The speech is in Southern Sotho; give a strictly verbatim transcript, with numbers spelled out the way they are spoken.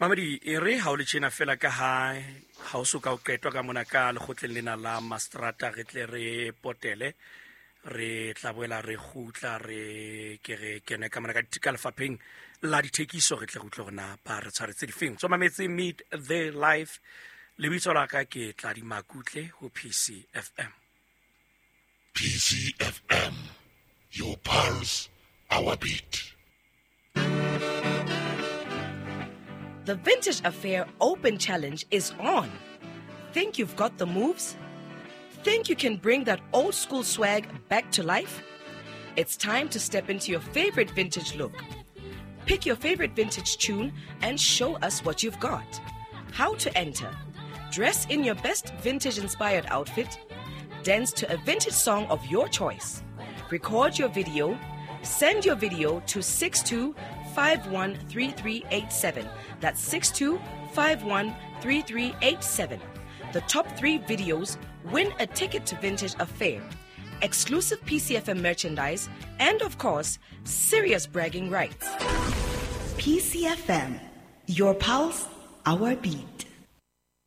Mamedi, e re ha o le tjena fela ka ha ha o so ka o qetwa ka mona ka lekgotleng lena la Mastrata, re tle re potele, re tla boela re kgutla, re ke re kene ka mona ka ka lefapheng la dithekiso, re tle re utlwe hore na ba re tshwaretse difeng. Tswa mametse Meet the Life, lebitso la ka ke Tladi Makutle ho P C F M. P C F M, your pulse, our beat. The Vintage Affair Open Challenge is on. Think you've got the moves? Think you can bring that old school swag back to life? It's time to step into your favorite vintage look. Pick your favorite vintage tune and show us what you've got. How to enter? Dress in your best vintage-inspired outfit. Dance to a vintage song of your choice. Record your video. Send your video to six two five one three three eight seven. That's six two five one three three eight seven. The top three videos win a ticket to Vintage Affair, exclusive P C F M merchandise, and of course, serious bragging rights. P C F M, your pulse, our beat.